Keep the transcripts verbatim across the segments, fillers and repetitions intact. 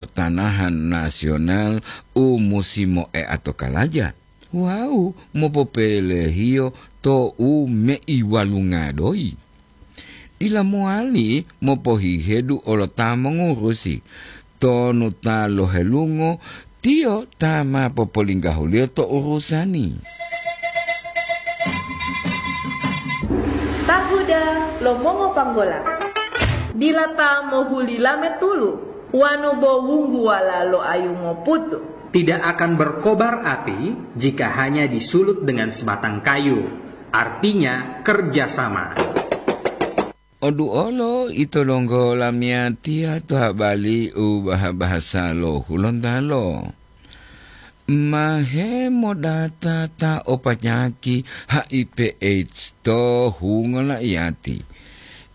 tanahan nasional u musi moeato kalaja wawu mopopelehiyo to u meiwalunga doyi. Dila mowali mopohihedu olo ta mongurusi, tonu ta lohelungo, tiyo ta ma popolinggahuliyo to urusani. Tahuda lo mongopanggola. Dila ta mohuli lame tulu, wanu bo wungguwala lo ayu moputu. Tidak akan berkobar api jika hanya disulut dengan sebatang kayu, artinya kerjasama. Oduolo ito donggo lamiyatiya to habali u baha-bahasa lo Hulontalo. Ma hemodata ta o panyaki H I V AIDS to hungo laiyati.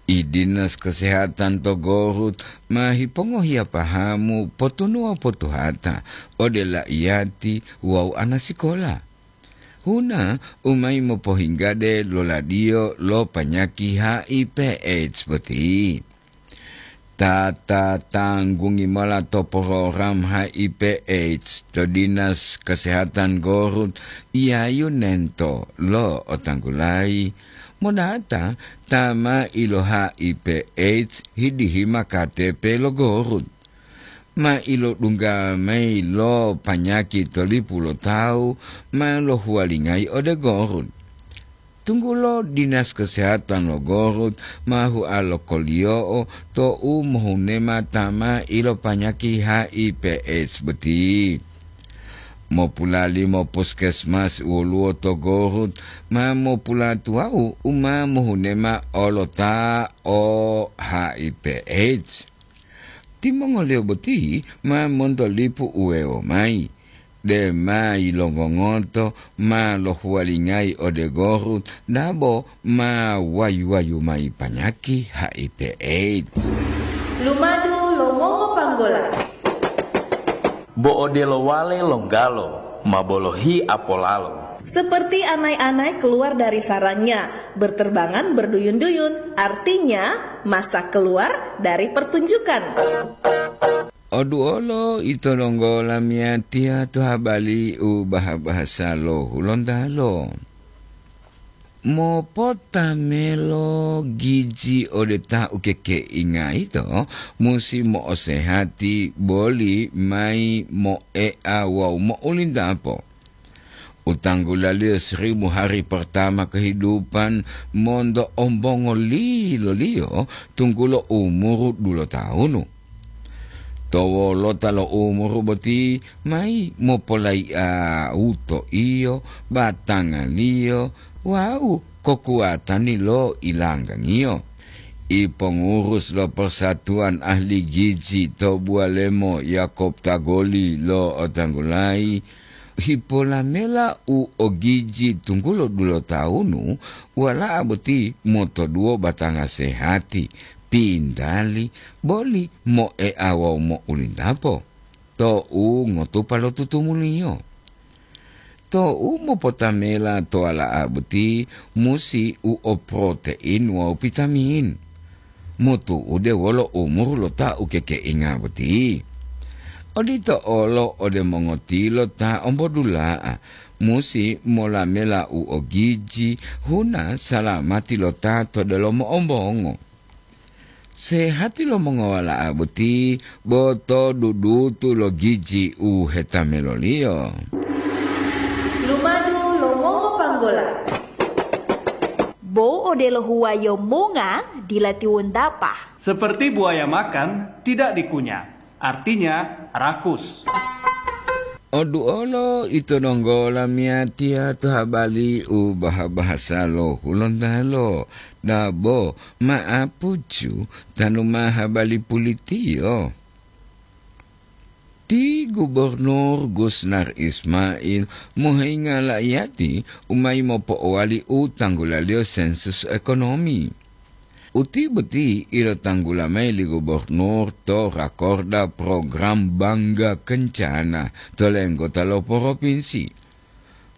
I Dinas Kesehatan to Gorut ma hipongohiya pahamu potunuwa potuhata ode laiyati wawu anasikola. Huna u mayi mopohinggade loladiyo lo panyaki H I V AIDS boti. Ta ta tanggungi mola to program H I V AIDS to Dinas Kesehatan Gorut, Yayu Nento lo otanggulayi, modata ta ma ilo H I V AIDS hidihima K T P lo Gorut. Ma ilodungga mayi lo panyaki to lipu lo tawu ma lohuwalingayi ode Gorut. Tunggulo Dinas Kesehatan lo Gorut ma hua lokoliyo'o to u mohunema ta ma ilopanyaki H I V AIDS boti. Mopulalimo puskesmas woluwo to Gorut ma mopulatuwawu u ma mohunema olo ta o H I V AIDS. Timongoliyo boti ma monto lipu uwewo mayi, dema yilongongoto ma lohuwalingayi ode Gorut dabo ma wayu-wayu mayi panyaki H I V AIDS. Lumadu lo mongopanggola. Bo odelo wale longgalo ma bolohi apolalo. Seperti anai-anai keluar dari sarangnya, berterbangan berduyun-duyun, artinya masa keluar dari pertunjukan. Oduolo ito donggo lamiyatiya to habali u baha-bahasa lo Hulontalo. Mopotamelo giji ode ta ukekeinga yito musi mo'osehati boli mayi moea wawu mo'ulintapo. U tanggulaliyo seribu hari pertama kehidupan monto ombongo liloliyo tunggulo umuru dulotawunu. To wolota lo umuru boti mayi mopolayi'auto iyo, batangaliyo wawu kokuwatani lo ilanggangiyo. I pongurus lo Persatuan Ahli Giji to Buwalemo Yakob Tagoli lo otanggulayi, hipolamela u ogiji tunggulo dulotawunu, wala'a boti motoduwo batanga sehati, pintali, boli moea wawu mo'ulintapo to u ngotupa lo tutumuliyo. To u mopotamela to wala'a boti musi u o protein wawu vitamin, motu'ude wolo umuru lo ta ukekeinga boti. Odito olo ode mongotilo ta ombodula'a, musi molamela u ogiji huna salamati lo ta to delomo ombongo. Sehati lo mongowala'a boti bo to dudutu lo giji u hetameloliyo. Lumadu lo mongopanggola. Bo odelo huwayo monga dila tiwontapa. Seperti buaya makan, tidak dikunyah. Artinya, rakus. Oduolo ito donggo lamiyatiya to habali u baha-bahasa lo Hulontalo, dabo ma'apucu tanu ma habali pulitiyo. Ti Gubernur Gusnar Ismail moheyinga la'iyati u mayi mopo'owali u tanggulaliyo sensus ekonomi. Uti boti ilotanggula mayi li gubernur to rakorda program Bangga Kencana to lenggota lo poropinsi.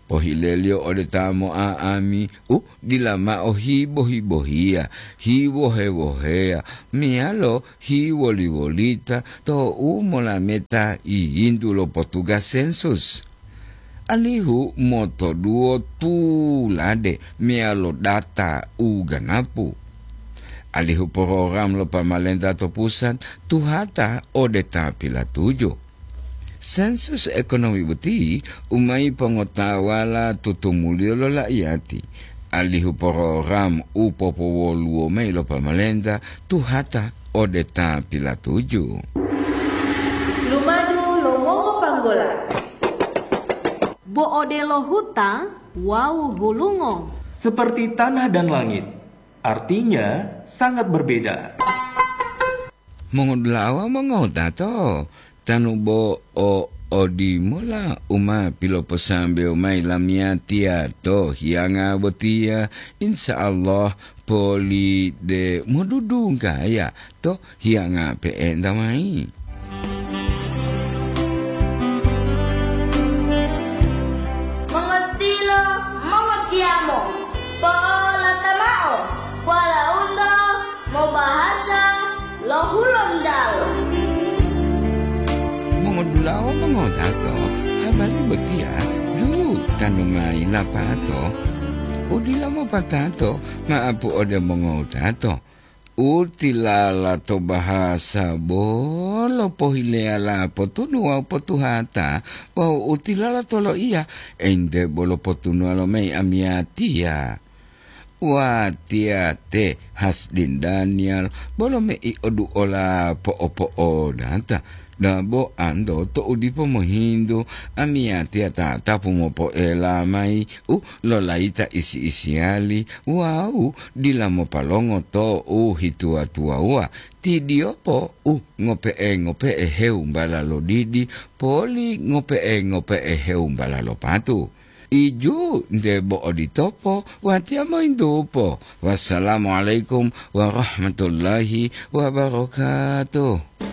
Pohileliyo ode ta mo'a'ami u dila mao hibo-hibohiya, hiwohe-woheya, meyalo hiwoli-wolita to'u molameta yiyintu lo potugas sensus, alihu motoduwo tulade meyalo data u ganapu, alihu porogram lo pamalenta to pusat tuhata ode ta pilatuju. Sensus ekonomi boti u mayi pongotawala tutumuliyo lo la'iyati, alihu porogram u popowoluwo mayi lo pamalenta tuhata ode ta pilatuju. Lumadu lo mongopanggola. Bo odelo huta wawu hulungo. Seperti tanah dan langit, artinya sangat berbeda. Mongodula'a wawu mongotato, tanu bo o odimola u ma piloposambewo mayi lamiyatiya to hiyanga botiya, insya Allah poli de modudunggaya to hiyanga pe'enta mayi. Mongotilo, mongotiyamo, po'olata mao, walaundo mobahasa lo Hulontalo. Mongodula'a wawu mongotato, habari botiya ju tanu mayi lapato. U dila mopatato, ma'apu ode mongotato. U tilala to bahasa bolo pohileyala potunu wawu potuhata, wawu u tilala to loiya, ente bolo potunuwa lo mayi amiyatiya. Watiya te Hasdin Daniel bolo mei oduola po'opo'odata, dabo anto to'u dipo mohintu, amiyatiya tatapu mopoela mayi u lolayita isi-isiyali wawu dila mopalongo to'u hituwa-tuwawuwa, tidiyopo u ngope'e-ngope'e hewumbala lo didi poli ngope'e-ngope'e hewumbala lo patu. Iju nte bo oditopo, watiya moyintupo. Wassalamualaikum warahmatullahi wabarakatuh.